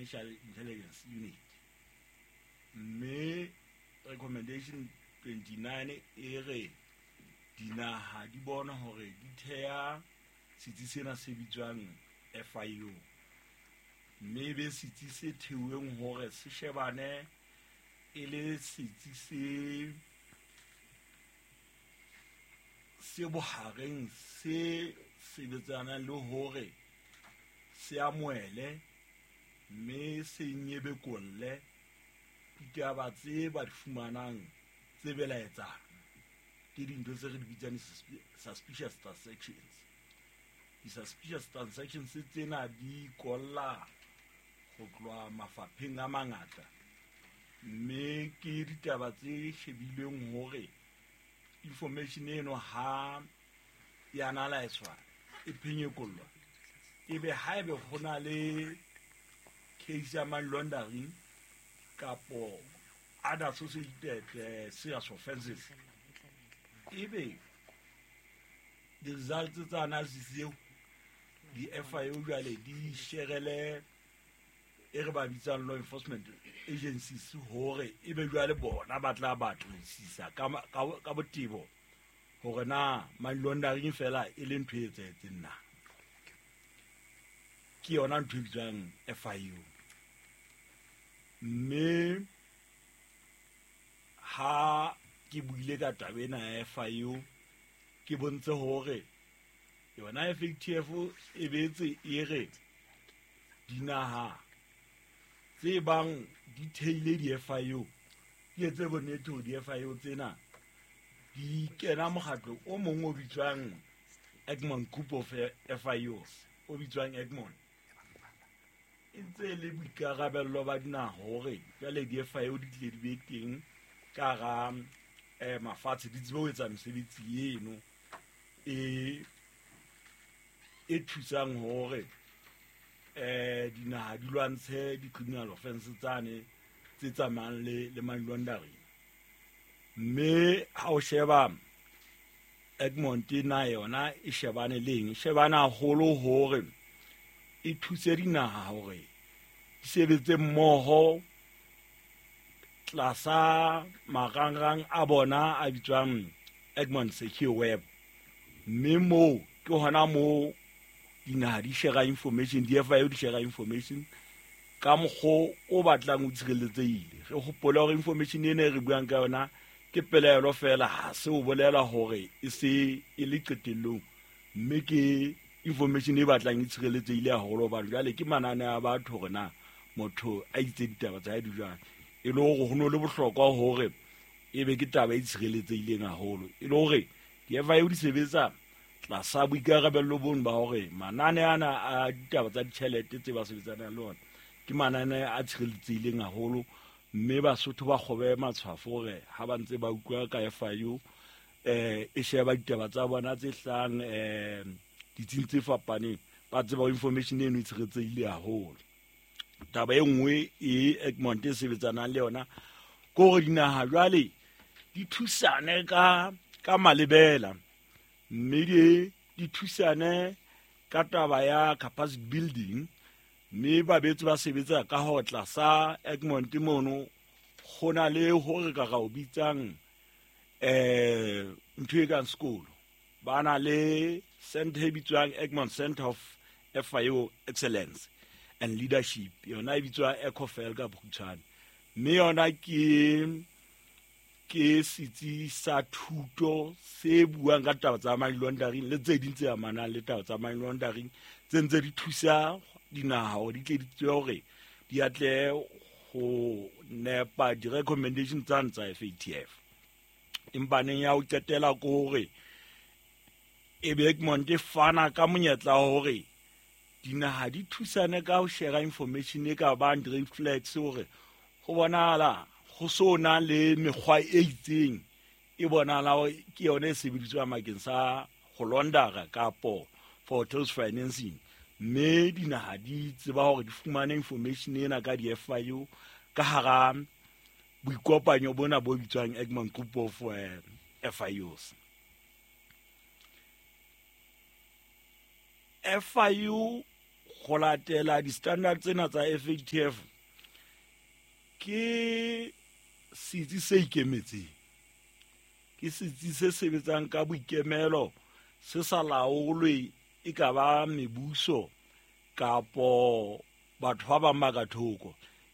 Financial Intelligence Unit. Mme recommendation 29 e re dinaha di bona hore di theha setsi sena se bitswang FIU, mme e be setsi se theuweng hore se shebane e le setsi se bohareng se sebetsanang le hore se amohele mme se nyebekolle ditaba tse ba di fumanang tse belaetsang, ke dintho tse re di bitsang suspicious transactions. Di-suspicious transactions tsena di kolla ho tloha mafapheng a mangata, mme ke ditaba tse shebilweng hore information eno ha e analyswa, e phenyekollwa, ebe haebe ho na le case ya money laundering kapo other associated serious offenses, ebe di-results tsa analysis eo di-FIU jwale di sherele e re ba bitsang law enforcement agencies hore ebe jwale bona ba tla batlisisa ka botebo hore na money laundering fela e le ntho e etsahetseng na. Ke yona ntho e bitswang FIU. Mme ha ke buile ka taba ena ya FIU, ke bontse hore yona FATF e betse e re dinaha tse bang di theile di-FIU di etse bonnete hore di-FIU tsena di kena mokgatlo o mong o bitswang Egmont Group of FIUs, o bitswang Egmont. E ntse e le boikarabello ba dinaha hore jwale di-FIU di tle di be teng ka hara mafatshe, di tsebe ho etsa mesebetsi eno e thusang hore dinaha di lwantshe di-criminal offense tsane tse tsamayang le money laundering. Mme ha o sheba Egmont na yona e shebane le eng, e shebane haholo hore e thuse dinaha hore di sebetse mmoho tlasa marangrang a bona a bitswang Egmont Secure Web. Mme moo ke hona moo dinaha di share information, di-FIU di share information ka mokgwa o batlang o tshireletsehile. Re hopole hore information ena e re buang ka yona ke pelaelo fela, ha se o bolela hore e se e le qetellong, mme ke information e batlang e tshireletsehile haholo, hobane jwale ke manane a batho hore na motho a itse ditaba tsa hae di jwang, e le hore ho no le bohlokwa hore e be ke taba e tshireletsehileng haholo, e le hore di-FIU di sebetsa tlasa boikarabello bono ba hore manane ana a ditaba tsa ditjhelete tse ba sebetsanang le ona ke manane a tshireletsehileng haholo. Mme Basotho ba kgobe matshwafo hore ha ba ntse ba utlwa ka FIU e sheba ditaba tsa bona tse hlahang ditsing tse fapaneng, ba tseba information eno e tshireletsehile haholo. Taba e nngwe e Egmont e sebetsanang le yona ke hore dinaha jwale di thusane ka malebela, mme di thusane ka taba ya capacity building, mme ba betse ba sebetsa ka ho tlasa Egmont mono go na le hore ka ga o bitsang ntho e kang sekolo, ba na le center e bitswang Egmont Center of FIU Excellence and Leadership, yona e bitswa ECOFEL ka bokgutshwane, mme yona ke setsi sa thuto se buang ka taba tsa money laundering le tse ding tse amanang le taba tsa money laundering, tse ntse di thusa dinaha hore di tle di tsebe hore di atle ho nepa di-recommendation tsane tsa FATF. Empa neng ya ho qetela ke hore e be Egmont e fana ka monyetla hore dinaha di thusane ka ho share information e ka bang red flags, hore ho bonahala ho so na le mekgwa e itseng e bonahala ke yona e sebediswang bakeng sa ho laundera kapo for terrorist financing, mme dinaha di tseba hore di fumane information ena ka di-FIU ka hara boikopanyo bona bo bitswang Egmont Group of FIUs. FIU Go latela di-standard tsena tsa FATF ke setsi se ikemetseng, ke setsi se sebetsang ka boikemelo, se sa laolwe e ka ba mebuso kapo batho ba bang ba ka thoko.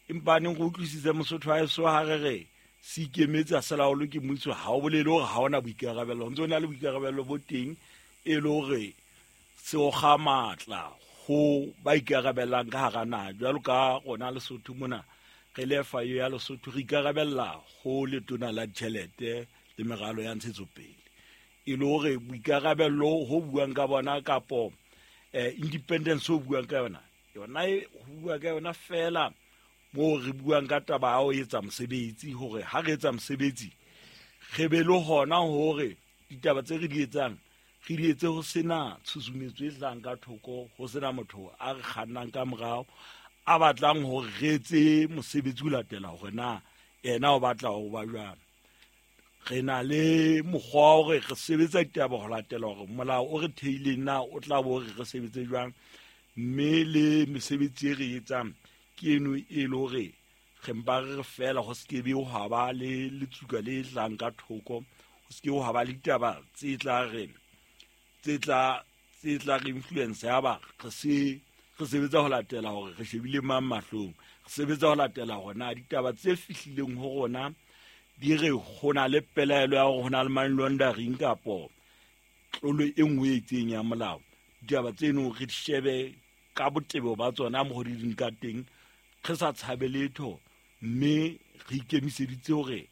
Empa neng go utlwisitse Mosotho wa eso, ha re re se ikemetse, a se laolwe ke mmuso, ha o bolele hore ha ona boikarabelo. O ntse o na le boikarabelo bo teng, e le hore se okga matla ho ba ikarabellang ka hara naha. Jwalo ka rona Lesotho mona, re le FIU ya Lesotho, re ikarabella ho Letona la Ditjhelete le Meralo ya Ntshetsopele, e le hore boikarabello ho buang ka bona kapo independence ho buang ka yona, yona e ho bua ka yona fela moo re buang ka taba ya ho etsa mosebetsi, hore ha re etsa mosebetsi re be le hona hore ditaba tse re di etsang re di etse ho sena tshusumetso e tlang ka thoko, ho sena motho a re kgannang ka morao a batlang hore re etse mosebetsi o latela hore na ena o batla ho ba jwang. Re na le mokgwa wa hore re sebetsa ditaba ho latela hore molao o re theileng na o tla bo re re sebetse jwang, mme le mesebetsi e re etsang ke eno e le hore re mpa re re fela ho se ke be hwa ba le letsuka le tlang ka thoko, ho se ke hwa ba le ditaba tse tla re tse tla re influence ya ba re se re sebetsa ho latela hore re shebile mang mahlong. Re sebetsa ho latela hore na ditaba tse fihlileng ho rona di re ho na le pelaelo ya hore ho na le money laundering kapo tlolo e nngwe e itseng ya molao. Ditaba tseno re di shebe ka botebo ba tsona mo di leng ka teng, re sa tshabe letho, mme re ikemiseditse hore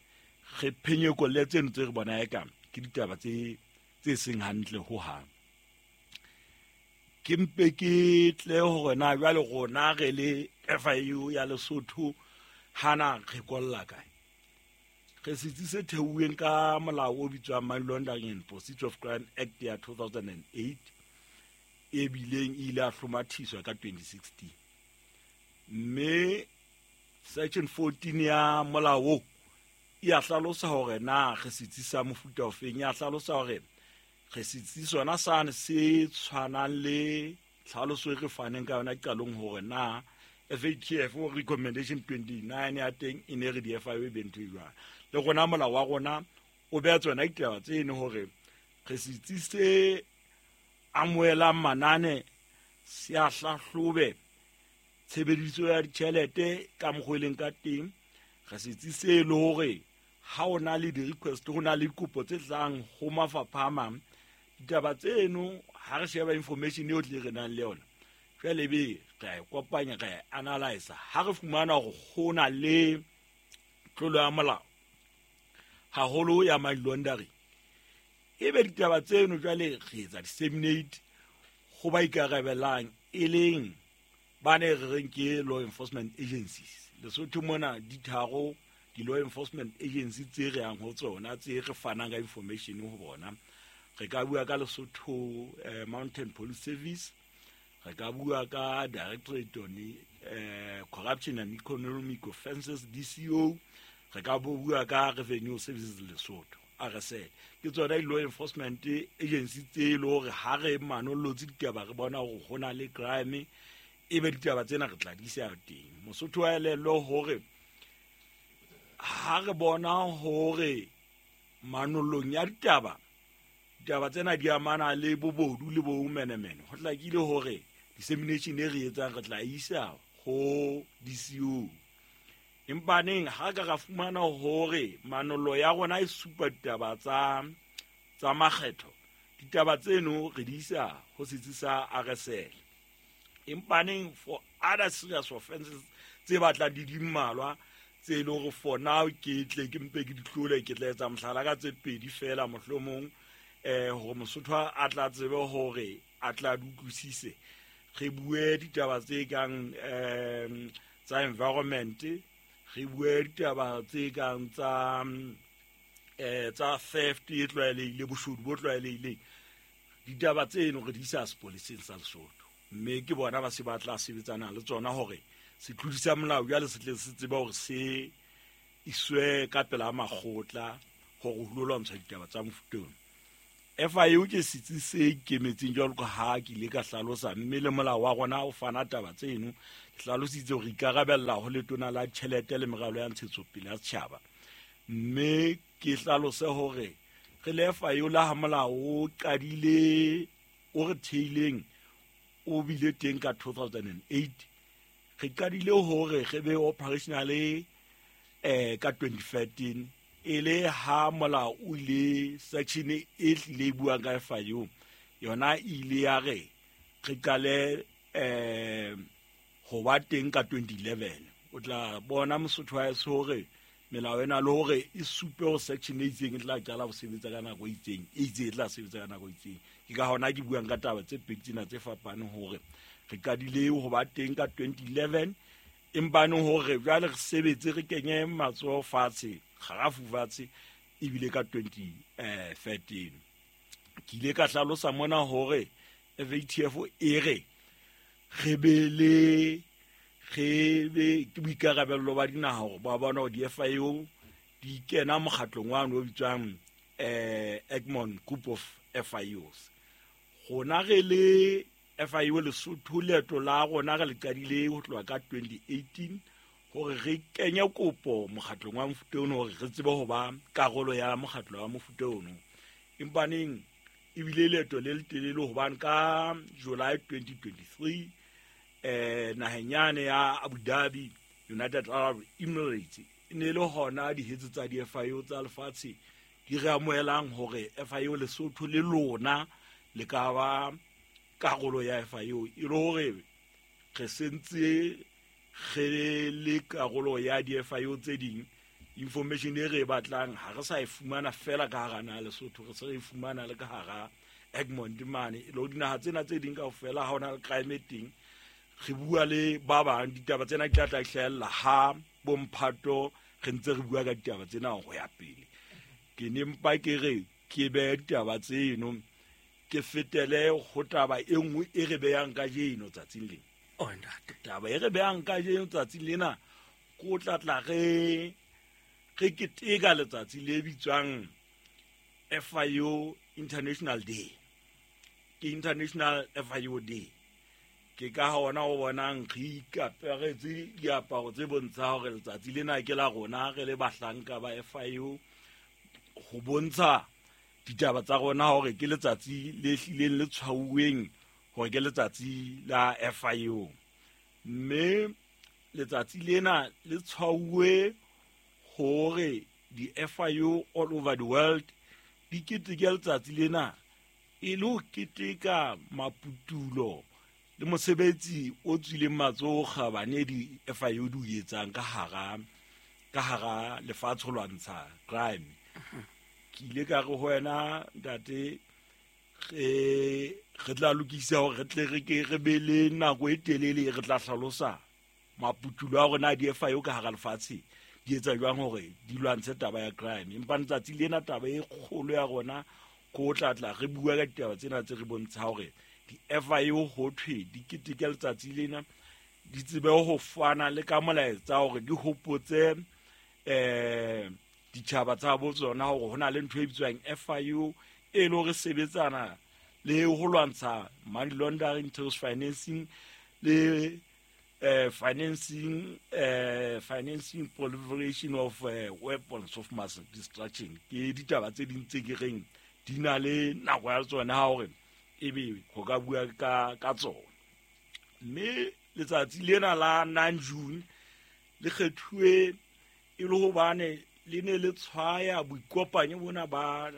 re phenyekolle tseno tse re bona eka ke ditaba tse seng hantle hohang. Ke mpe ke tle hore na jwale rona re le FIU ya Lesotho hana re kolla kae. Re setsi se theuweng ka molao o bitswang Money Laundering and Proceeds of Crime Act ya 2008, e bileng e ile a hlomathiswa ka 2016, mme section 14 ya molao o e a hlalosa hore na re setsi sa mofuta ofeng. E a hlalosa hore re setsi sona sane se tshwanang le tlhaloso e re faneng ka yona qalong, hore na FATF recommendation 29 ya teng e ne re di-FIU e be ntho e jwang. Le rona molao wa rona o beha tsona ditaba tseno hore re setsi se amohelang manane, se a hlahlobe tshebediso ya ditjhelete ka mokgwa e leng ka teng. Re setsi se le hore ha o na le di-request, ho na le dikopo tse tlang ho mafapha a mang, ditaba tseno ha re sheba information yohle re nang le yona, jwale be re a e kopanya, re a e analyse. Ha re fumana hore ho na le tlolo ya molao, haholo ya money laundering, ebe ditaba tseno jwale re etsa disseminate ho ba ikarabelang, e leng ba ne re reng ke law enforcement agencies. Lesotho mona di tharo di-law enforcement agency tse re yang ho tsona, tse re fanang ka information ho bona. Re ka bua ka Lesotho Mountain Police Service, re ka bua ka Directorate on Corruption and Economic Offences, DCO, re ka bua ka Revenue Services Lesotho, RSL. Ke tsona di-law enforcement agency tse e le hore ha re manollotse ditaba, re bona hore ho na le crime, ebe ditaba tsena re tla di isa teng. Mosotho wa elellwe hore ha re bona hore manollong ya ditaba, ditaba tsena di amana le bobodu le bomenemene, ho hlakile hore dissemination e re etsang re tla isa ho DCO. Empa neng ha ka ra fumana hore manollo ya rona e supa ditaba tsa makgetho, ditaba tseno re di isa ho setsi sa RSL. Empa neng for other serious offenses tse batlang di mmalwa, tse e leng hore for now ke tle ke mpe ke di tlole, ke tla etsa mohlala ka tse pedi fela mohlomong, hore Mosotho a tla tsebe hore a tla di utlwisise. Re bue ditaba tse kang tsa environment, re bue ditaba tse kang tsa theft e tlwaelehile, boshodu bo tlwaelehileng. Ditaba tseno re di isa sepoleseng sa Lesotho, mme ke bona ba se ba tla sebetsana le tsona hore setlodi sa molao jwale se tle se tsebe hore se iswe ka pela makgotla hore ho lo lwantsha ditaba tsa mofuta ona. FIU ke setsi se ikemetseng jwalo ka ha ke ile ka hlalosa, mme le molao wa rona o fana taba tseno. Ke hlalositse hore ikarabella ho letona la tjhelete le meralo ya ntshetsopele ya setjhaba, mme ke hlalose hore re le FIU la ha molao o qadile o re theileng o bile teng ka 2008, re qadile hore re be operational ka 2013, e le ha molao o ile section e hlile e buang ka FIU yona e ile ya re re qale ho ba teng ka 2011. O tla bona Mosotho wa heso hore melao ena le hore e supe ho section e itseng e tla qala ho sebetsa ka nako e itseng, e itseng e tla sebetsa ka nako e itseng. Ke ka hona ke buang ka taba tse pedi tsena tse fapaneng hore re qadile ho ba teng ka 2011, empa neng hore jwale re sebetse re kenye matsoho fatshe, kgarafu fatshe, ebile ka 2013. Ke ile ka hlalosa mona hore FATF e re re be le re be ke boikarabello ba dinaha hore ba bona hore di-FIU di kena mokgatlong wa o bitswang Egmont Group of FIUs. Rona re le FIU Lesotho, leeto la rona re le qadile ho tloha ka 2018 hore re kenye kopo mokgatlong wa mofuta ono hore re tsebe ho ba karolo ya mokgatlo wa mofuta ono. Empaneng ebile leeto le letelele hobane ka July 2023 naheng yane ya Abu Dhabi, United Arab Emirates, e ne le hona dihetse tsa di-FIU tsa lefatshe di re amohelang hore FIU Lesotho le lona le ka ba karolo ya FIU, e le hore re sentse re le karolo ya di-FIU tse ding. Information e re e batlang ha re sa e fumana fela ka hara naha Lesotho, re se re e fumana le ka hara Egmont mane. E le hore dinaha tsena tse ding kaofela ha hona le crime e teng, re bua le ba bang, ditaba tsena di tla tla hlahella ha bomphato re ntse re bua ka ditaba tsena ho ya pele. Ke ne mpa ke re ke behe ditaba tseno, ke fetele ho taba e nngwe e re behang kajeno tsatsing lena. Oh, ntate. Taba e re behang kajeno tsatsing lena ko tla tla re keteka letsatsi le bitswang FIU International Day. Ke International FIU Day. Ke ka hona o bonang re ikaperetse diaparo tse bontshang hore letsatsi lena ke la rona re le bahlanka ba FIU, ho bontsha ditaba tsa rona hore ke letsatsi le hlileng le tshwauweng hore ke letsatsi la FIU. Mme letsatsi lena le tshwauwe hore di-FIU all over the world di keteke letsatsi lena e le ho keteka maputulo le mosebetsi o tswileng matsoho kgabane di-FIU di o etsang ka hara lefatshe ho lwantsha crime. Ke ile ka re ho wena ntate, re tla lokisa hore re tle re ke re be le nako e telele re tla hlalosa maputulo a rona a di-FIU ka hara lefatshe di etsa jwang hore di lwantshe taba ya crime. Empa letsatsi lena taba e kgolo ya rona ko tla tla re bua ka ditaba tsena tse re bontsha hore di-FIU ho thwe di keteke letsatsi lena, di tsebe ho fana le ka molaetsa hore di hopotse ditjhaba tsa bo tsona hore ho na le ntho e bitswang FIU e le hore sebetsana le ho lwantsha money laundering, terrorist financing le financing proliferation of weapons of mass destruction. Ke ditaba tse ding tse ke reng di na le nako ya tsona hore ebe ho ka bua ka tsona. Mme letsatsi lena la 9 June le kgethuwe e le hobane le ne le tshwaya boikopanyo bona ba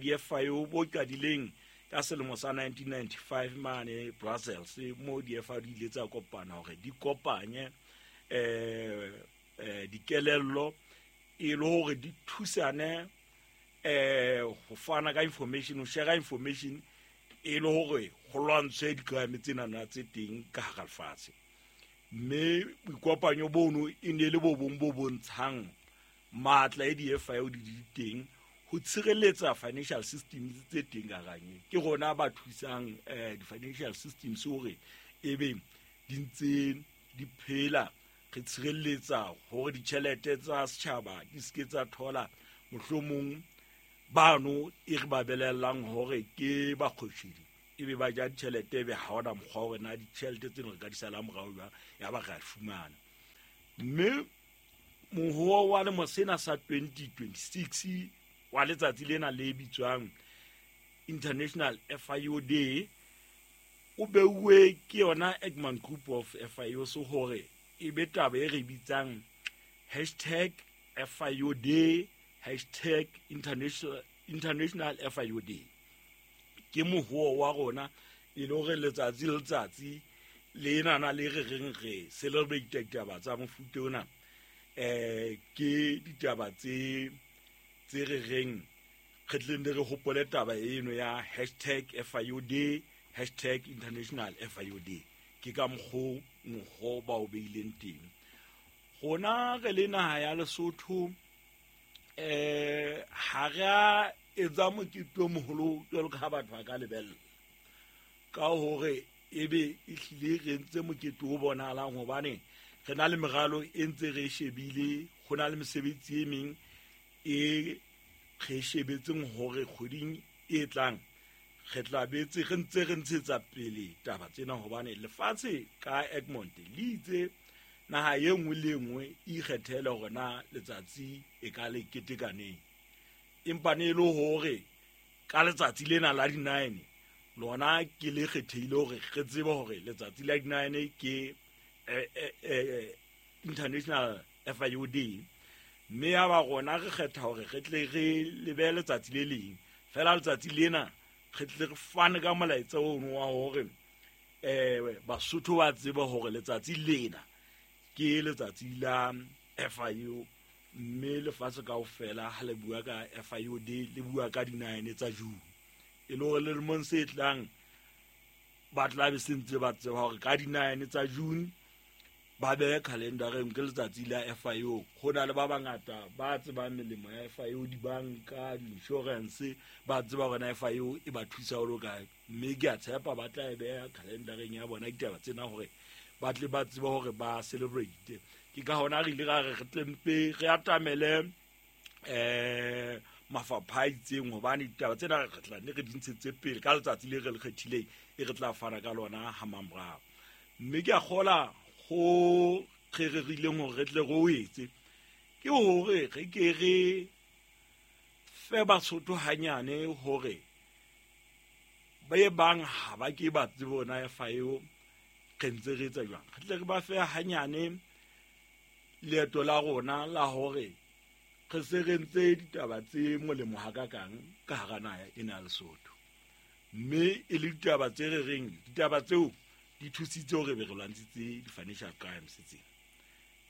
di-FIU bo qadileng ka selemo sa 1995 mane Brussels, mo di-FIU di ile tsa kopana hore di kopanye dikelello e le hore di thusane ho fana ka information, ho share information e le hore ho lwantshwe di-crime tsena tse teng ka hara lefatshe. Mme boikopanyo bono e ne le bo bong bo bontshang matla e di-FIU di teng ho tshireletsa financial systems tse teng ka hara. Ke rona ba thusang di-financial systems hore ebe di ntse di phela, re tshireletsa hore ditjhelete tsa setjhaba di se ke tsa thola mohlomong Bano e re ba belellang hore ke bakgoshidi, ebe ba ja ditjhelete, ebe ha hona mokgwa hore na ditjhelete tseno re ka di sala morao jwang, ya ba re a fumana. Mme mohoa wa lemo sena sa 2026 wa letsatsi lena le bitswang International FIO Day o beuwe ke yona Egmont Group of FIOs hore e be taba e re bitsang hashtag FIO Day, hashtag International FIO Day. Ke mohoa wa rona e le hore letsatsi le letsatsi le nana le re reng re celebrate ditaba tsa mofuta ona, ke ditaba tse re reng re tleng re hopole taba eno ya hashtag FIO Day, hashtag International FIO Day. Ke ka mokgo mokgo ba o beileng teng. Rona re le naha ya Lesotho, ha re a etsa mokete o moholo jwalo ka ha batho ba ka lebella, ka hore ebe ehlile re entse mokete o bonahalang, hobane re na le meralo e ntse re shebile, ho na le mesebetsi e meng e re shebetseng hore kgweding e tlang re tla betse re ntse re ntshetsa pele taba tsena, hobane lefatshe ka Egmont le itse naha e nngwe le e nngwe e ikgethele hore na letsatsi e ka le ketekaneng. Empa ne e le hore ka letsatsi lena la di-9 lona ke le kgethehile hore re tsebe hore letsatsi la di-9 ke International FIO Day, mme ya ba rona re kgetha hore re tle re lebe letsatsi le leng fela. Letsatsi lena re tle re fane ka molaetsa ono wa hore Basotho ba tsebe hore letsatsi lena ke letsatsi la FIO, mme lefatshe kaofela ha le bua ka FIO Day le bua ka di-9 tsa June, e le hore le lemong se tlang ba tla be se ntse ba tseba hore ka di-9 tsa June ba behe calendareng ke letsatsi la FIO. Ho na le ba bangata ba tsebang melemo ya FIO, dibanka, di-insurance, ba tseba hore na FIO e ba thusa ho le kae, mme ke a tshepa ba tla e beha calendareng ya bona ditaba tsena hore ba tle ba tsebe hore ba celebrate. Ke ka hona re ile ra re re tle mpe re atamele mafapha a itseng, hobane ditaba tsena re tla ne re di ntshetse pele ka letsatsi le re le kgethileng e re tla fana ka lona ha mamorao. Mme ke a kgola ho re rerileng hore re tle re o etse ke hore re ke re fe Basotho hanyane hore ba e bang ha ba ke ba tsebe hore na FIO re ntse re etsa jwang, re tle re ba fe hanyane leeto la rona la hore re se re ntse ditaba tse molemo hakakang ka hara naha ena ya Lesotho, mme e le ditaba tse re reng ditaba tseo di thusitse hore be re lwantshitse di-financial crimes tsena.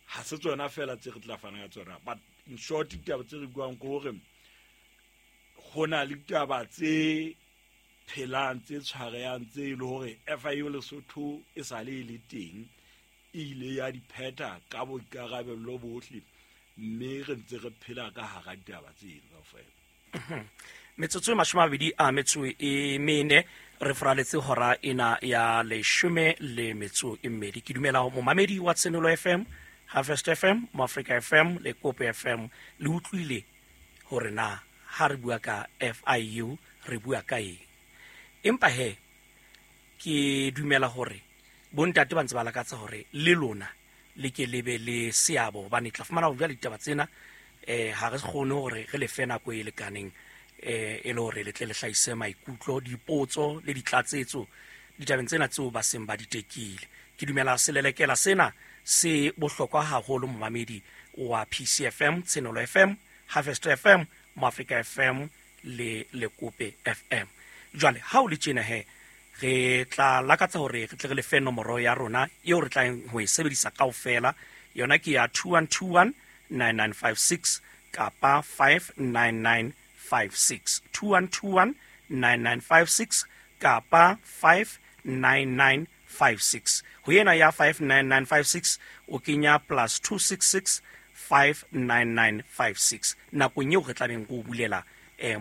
Ha se tsona fela tse re tla fana ka tsona, but in short ditaba tse re buang ke hore ho na le ditaba tse phelang tse tshwarehang tse e le hore FIO Lesotho e sale e le teng, e ile ya di phetha ka boikarabello bohle, mme re ntse re phela ka hara ditaba tseno kaofela. Metsotso e 24 re foraletse hora ena ya 12. Ke dumela ho momamedi wa Tshenolo FM, Harvest FM, Moafrika FM le Kopo FM le utlwile hore na ha re bua ka FIU re bua ka eng. Empa he ke dumela hore bontate ba ntse ba lakatsa hore le lona le ke le be le seabo, hobane tla fumana hore jwale ditaba tsena ha re kgone hore re le fe nako e lekaneng e le hore le tle le hlahise maikutlo, dipotso le ditlatsetso ditabeng tsena tseo ba seng ba di tekile. Ke dumela selelekela sena se bohlokwa haholo momamedi wa PCFM, Tshenolo FM, Harvest FM, Moafrika FM le Lekope FM. Jwale ha o le tjena he re tla lakatsa hore re tle re le fe nomoro ya rona eo re tlang ho e sebedisa kaofela. Yona ke ya 2121 9956 kapa 59956. 2121 9956 kapa 59956. Ho yena ya 59956 o kenya plus 266 59956 nakong eo re tlabeng go bulela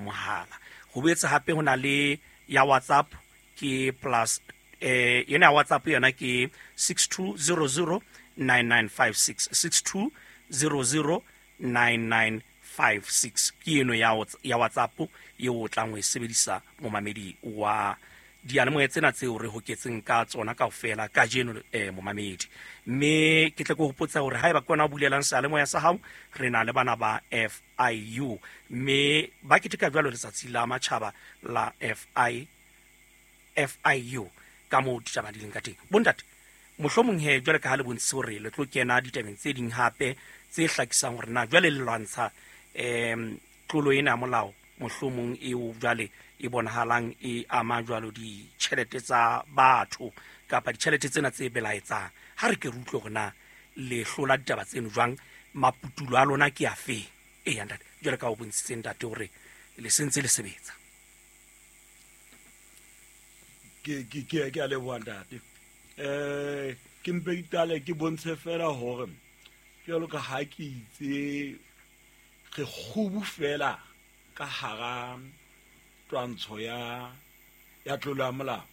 mohala. Ho boetse hape ho na le ya WhatsApp ke plus yona ya WhatsApp yona ke 6200 9956, 6200 9956. 56 ke eno ya ya WhatsApp eo o tlang ho e sebedisa, momamedi wa diyalemoya tsena tseo re hoketseng ka tsona kaofela kajeno. Momamedi, mme ke tle ke hopotsa hore haeba ke wena o bulelang seyalemoya sa hao, re na le bana ba FIU, mme ba keteka jwalo letsatsi la matjhaba la FIU ka moo ditaba di leng ka teng. Bontate, mohlomong he jwale ka ha le bontshitse hore le tlo kena ditabeng tse ding hape tse hlakisang hore na jwale le lwantsha tlolo ena ya molao, mohlomong eo jwale e bonahalang e ama jwalo ditjhelete tsa batho kapa ditjhelete tsena tse belaetsang, ha re ke re utlwe hore na le hlola ditaba tseno jwang, maputulo a lona ke afe? Eya ntate, jwale ka o bontshitse ntate hore le sentse le sebetsa. Ke a leboha, ntate. Ke mpe ke qale ke bontshe fela hore jwalo ka ha ke itse re kgubu fela ka hara twantsho ya tlolo ya molao.